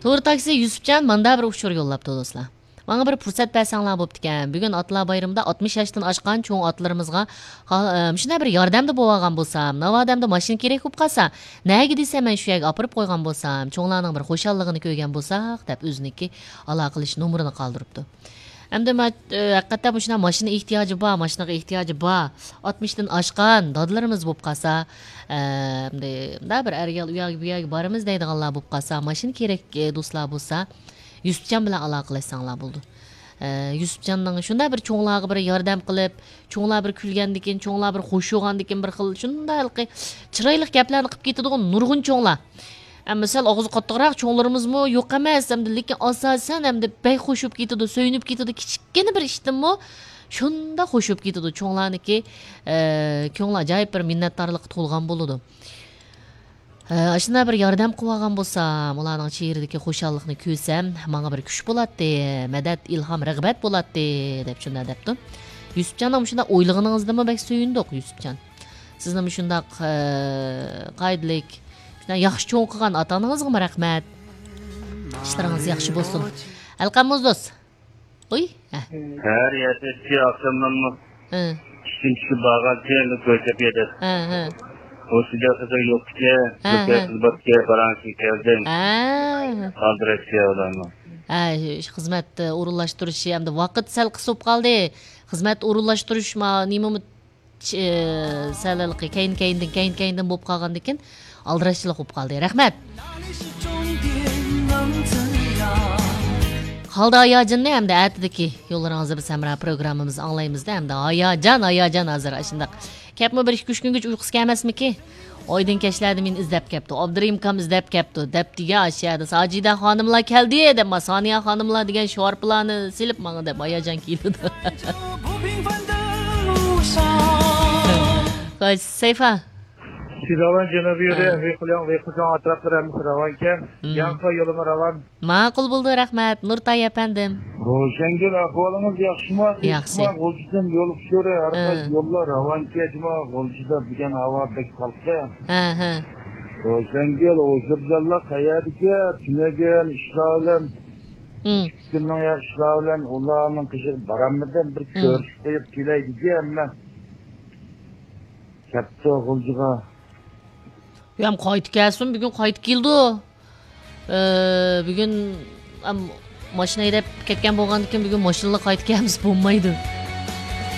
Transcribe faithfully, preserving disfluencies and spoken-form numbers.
تور تاكسى يۈسۈپجان ماندا بىر ئۇچۇر يوللاپتۇ، دوستلار. ماڭا بىر پۇرسەت بەرسەڭلار بوپتىكەن. بۈگۈن ئاتىلار بايرىمىدا ئاتمىش ياشتىن ئاشقان چوڭ ئاتىلىرىمىزغا ھا-، ئە، مۇشۇنداق بىر ياردەمدە بولۇۋالغان بولسام، ناۋادا ئەمدى ماشىنا كېرەك بولۇپ قالسا، نەگە دېسە مەن شۇ يەرگە ئاپىرىپ قويغان بولسام، چوڭلارنىڭ بىر خۇشاللىقىنى كۆرگەن بولساق، دەپ ئۆزىنىڭكى ئالاقىلىشىش نومۇرىنى قالدۇرۇپتۇ. ئەمدى مە-، ئە، ھەقىقەتەن مۇشۇنداق ماشىنا ئېھتىياجى بار، ماشىنىغا ئېھتىياجى بار، ئاتمىشتىن ئاشقان دادىلىرىمىز بولۇپ قالسا، ئە، ئەمدى مۇنداق بىر ئەرگە ئۇ يەرگە، بۇ يەرگە بارىمىز دەيدىغانلار بولۇپ قالسا، ماشىنا كېرەك، ئە، دوستلار بولسا، يۈسۈپجان بىلەن ئالاقىلەشسەڭلار بولىدۇ. ئە، يۈسۈپجاننىڭ شۇنداق بىر چوڭلارغا بىر ياردەم قىلىپ، چوڭلار بىر كۈلگەندىكىن، چوڭلار بىر خوش بولغاندىكىن، بىر خىل شۇنداق ھېلىقى چىرايلىق گەپلەرنى قىلىپ كېتىدىغۇ نۇرغۇن چوڭلار. ئەمما سەل ئاغزى قاتتىقراق چوڭلىرىمىزمۇ يوق ئەمەس، ئەمدى، لېكىن ئاساسەن ئەمدى بەك خوش بولۇپ كېتىدۇ، سۆيۈنۈپ كېتىدۇ. كىچىككىنە بىر ئىشتىنمۇ شۇنداق خوش بولۇپ كېتىدۇ. چوڭلارنىكى، ئە، كۆڭلى ئاجايىپ بىر مىننەتدارلىققا تولغان بولىدۇ. ئە، ئاشۇنداق بىر ياردەم قىلىۋالغان بولسام، ئۇلارنىڭ چېھرىدىكى خۇشاللىقنى كۆرسەم، ماڭا بىر كۈچ بولاتتى، مەدەت، ئىلھام، رىغبەت بولاتتى، دەپ شۇنداق دەپتۇ. يۈسۈپجاننىڭ مۇشۇنداق ئويلىغىنىڭىزدىنمۇ بەك سۆيۈندۇق، يۈسۈپجان. سىزنى مۇشۇنداق، ئە، قائىدىلىك، شۇنداق ياخشى چوڭ قىلغان ئاتا-ئانىڭىزغىمۇ رەھمەت. ئىشلىرىڭىز ياخشى بولسۇن. ئەلقەم موزدوز. ئۇي، ھە. ھەر يەردە ئاخشاملىرىمۇ ھە. ئىشتىن چۈشۈپ بارغانتىم، كۆچەپ يەردە. ھە، ھە. ئۇ سىدىقىدا يوق ئىكەن، ھە، بىر ھە. قىز بار ئىكەن، پاراڭشى كەلدىم. ھە. ئالدىراش كەلدىم. ھە، خىزمەت ئورۇنلاشتۇرۇشى ئەمدى ۋاقىت سەل قىس بولۇپ قالدى. خىزمەت ئورۇنلاشتۇرۇش ما-، نېمىمۇ چ-، سەل ھېلىقى كەينى-كەينىدىن، كەينى-كەينىدىن بولۇپ قالغاندىكىن، ئالدىراشچىلىق بولۇپ قالدى. رەھمەت. قالدى ھاياجىننى ھەمدە ئەتىدىكى يوللىرىڭىزدا بىز ھەمراھ پروگراممىمىزنى ئاڭلايمىزدا ھەمدە ھاياجان، ھاياجان ھازىر ئاشۇنداق. كەپمۇ بىر ئىككى ئۈچ كۈنگىچە ئۇيقۇسى كەلمەسمىكى؟ ئايدىن كەچلەردە مېنى ئىزدەپ كەپتۇ، ئابدۇرېھىم ئاكام ئىزدەپ كەپتۇ، دەپتىكەن ئاشۇ يەردە ساجىدە خانىملار كەلدى دەپ، ما سانىيە خانىملار دېگەن شوئارپىلارنى سېلىپ ماڭا دەپ ھاياجان كېلىدۇ. خوش، سەيفا. سىزاۋان جەنۇبىي يولى، ھە. ۋېيخۇلياڭ، ۋېيخۇجاڭ ئەتراپلىرى ھەممىسى راۋانكەن. مم. ياڭخۇا يولىمۇ راۋان. ماقۇل بولدى، رەھمەت. نۇرتاي ئەپەندىم. روشەنگۈل، ئەھۋالىڭىز ياخشىمۇ؟ ياخشى. غۇلجىدىن يول ئۇچۇرى، ھەر ھە. قايسى يوللار راۋانكى جۇما، غۇلجىدا بۈگۈن ھاۋا بەك سالقىن. ھە، ھە. روشەنگۈل، ھۇزۇرجانلار قەيەردىكى؟ تۈنۈگۈن ئىشلار بىلەن، مم. ئىككى كۈننىڭ يا ئىشلار بىلەن ئۇلارنىڭ قېشىغا بارالمىدىم، بىر مم. كۆرۈشۈپ قويۇپ كېلەي دېگەن مەن. كەپتۇ غۇلجىغا. يا، قايتىپ كەلسۇن، بۈگۈن قايتىپ كېلىدۇ. ئى، بۈگۈن، ئەم، ماشىنا ھەيدەپ كەتكەن بولغاندىكىن، بۈگۈن ماشىنىلا قايتىپ كەلمىسە بولمايدۇ.